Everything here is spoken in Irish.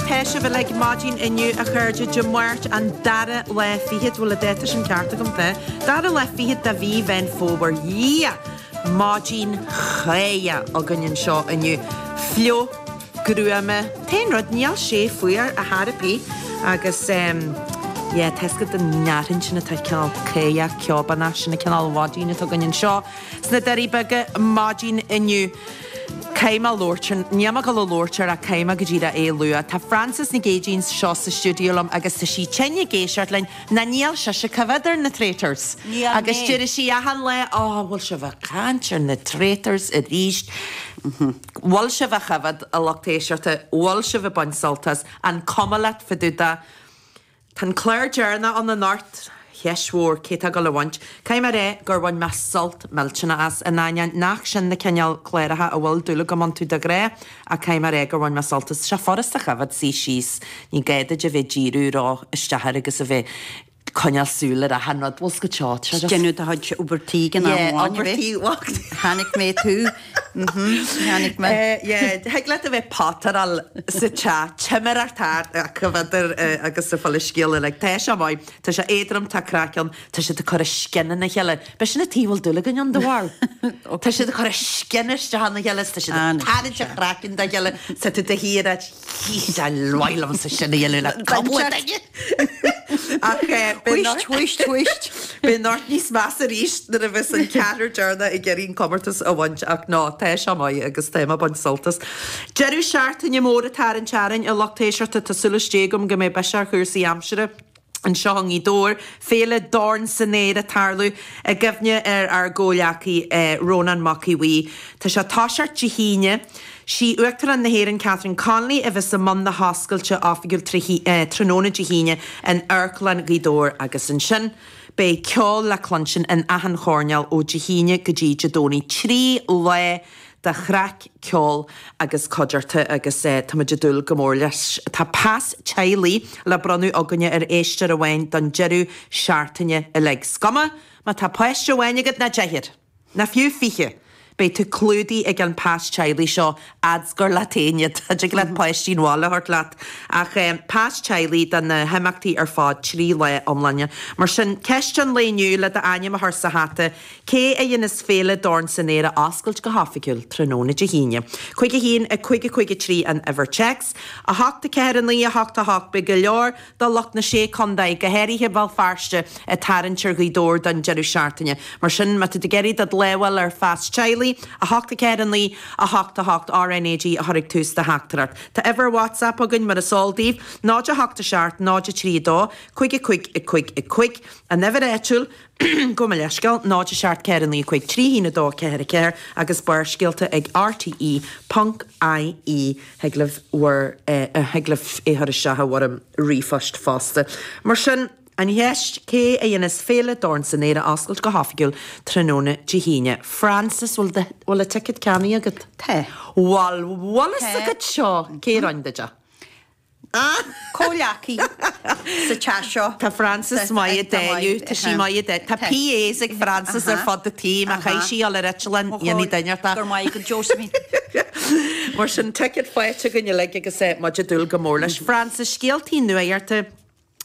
Tá sibh uilig maidin inniu a chairde, Dé Máirt an dara lá fichead, bhfuil an dáta sin ceart agam, tá, dara lá fichead de mhí Mheán Fómhair, yeah! Maidin cháidheach againn anseo inniu. Fliuch, gruama, t-aon rud, níl sé fuar ar chor ar bith agus em yeah, tá 'fhios agat an fhearthainn sin atá cineál cáidheach, ceobánach, sin an cineál mhaidin atá againn anseo sna Doirí Beaga maidin inniu. Caithfidh mé labhairt ar, níl mé ag dul a labhairt air ach caithfidh mé go díreach é a lua. Tá Frances Nic Aoidín anseo sa stiúideo liom agus tá sí tinn ag éisteacht linn, ná níl sise ag coimhéad ar na Traitors. Níl Agus mé. deir sí achan lá, Ó, bhfuil sibh ag caint ar na Traitors arís? Bhfuil sibh á choimhéad, a lucht éisteachta, bhfuil sibh ag baint sult as? An cuma leat fá dtaobh de? Tá an clár deireanach ann anocht, cheist mhór cé tá ag dul a bhaint. Caithfidh mé a rá gur bhain mé sult millteanach as, in ainneoin nach sin na cineál cláracha a bhfuil dúil agam iontu de ghnáth, ach caithfidh mé a rá gur bhain mé sult as. Tá sé furasta a choimhéad, suí síos, ní gá duit a bheith ag díriú ró isteach air agus a bheith coinneáil súil ar achan rud. Bhfuil 's agat seo, tá sé just. Déanamh do chuid obair tí ag an am Yeah, amháin, obair a bheith. tí, bhuel. Chonaic mé tú. Mhm, chonaic mé. Yeah, thig leat a bheith potteráil sa teach, timireacht thart ach coimhéadar agus sa fáil scéal uilig. Tá sé maith, tá sé éadrom, tá craic ann, tá siad ag cur a scian ina chéile. B'é sin an taobh a bhfuil dúil againn ann de bharr. Tá siad ag cur a scian isteach ina chéile, tá siad ag tarraingt a chraiceann dá chéile, tá tú de shíor ag Is maith liomsa sin a dhéanamh le cúpla duine. Ach Whisht, whisht, whisht. Beidh anocht níos measa arís nuair a bheas an ceathrar deireanach ag iarraidh an comórtas a bhaint ach ná, tá sé maith agus tá mé ag baint sult as. Deireadh seachtaine mór atá ar an tearrainn, a lucht éisteachta, tá súil istigh agam go mbeidh biseach ar chúrsaí aimsire. Anseo i nGaoth Dobhair, Féile Dorn san Aer ag tarlú i gcuimhne ar ár gcomhghleacaí Rónán Mac Aodha Bhuí. Tá sé ag toiseacht Dé hAoine. Sí Uachtarán na hÉireann Catherine Connolly a bheas i mbun na hoscailte oifigiúil tráthnóna Dé hAoine in Amharclann Ghaoth Dobhair agus ansin beidh ceol le cluinstin in achan choirnéal ó Dé hAoine go dtí Dé Domhnaigh. 3 lá de chraic, ceol agus cuideachta agus táimid ag dúil go mór leis. Tá pas teaghlaigh le bronnadh againne ar éisteoir amháin don deireadh seachtaine uilig. 'S cuma má tá páiste amháin agat ná deichniúr, ná fiú 20, beidh tú clúdaithe ag an pas teaghlaigh seo fhad's gur leat féin iad. Tig leat páistí an bhaile a thabhairt leat ach pas teaghlaigh do na himeachtaí ar fad, 3 lá iomlána. Mar sin, ceist an lae inniu le d'ainm a chur sa hata, Cé a dhéanas Féile Dorn san Aer a oscailt go hoifigiúil tráthnóna Dé hAoine? 5 1 5 5 3 an uimhir téacs, 8 4 9 8 8 Beidh go leor de lucht na Sé Contae, go háirithe Béal Feirste, ag tarraingt ar Ghaoth Dobhair don deireadh seachtaine. Mar sin, má tá tú ag iarraidh do lámh a fháil ar phas teaghlaigh, 8 4 9 8 8 RnaG a chur ag tús do theachtaireacht. Tá uimhir WhatsApp againn mar is eol daoibh, 0 8 7 0 3 2 5 5 5 5. An uimhir áitiúil, Gabh mo leithscéal, 0 7 4 9 5 3 1 2 4 4 agus Barrscéalta ag RTE ponc IE. Thig libh bhur, thig libh é chur isteach i bhfoirm ríomhphoist fosta. Mar sin, an cheist, cé a dhéanas Féile Dorn san Aer a oscailt go hoifigiúil tráthnóna Dé hAoine? Frances, bhfuil do, bhfuil an ticket ceannaithe agat? Tá. Bhfuil, bhfuil fhios Tá. agat seo? Cé a rinne duit é? Comhghleacaí sa teach seo. Tá Frances maith ag dáileadh, tá sí maith ag dáileadh. Tá PAs ag Frances ar fud an tí, má chaithfidh sí dul ar eitleán, dhéanfaidh duine ort é. Go raibh maith agat Josephine. Mar sin, ticket faighte againn uilig agus muid ag dúil go mór leis. Frances, scéaltaí nuachta.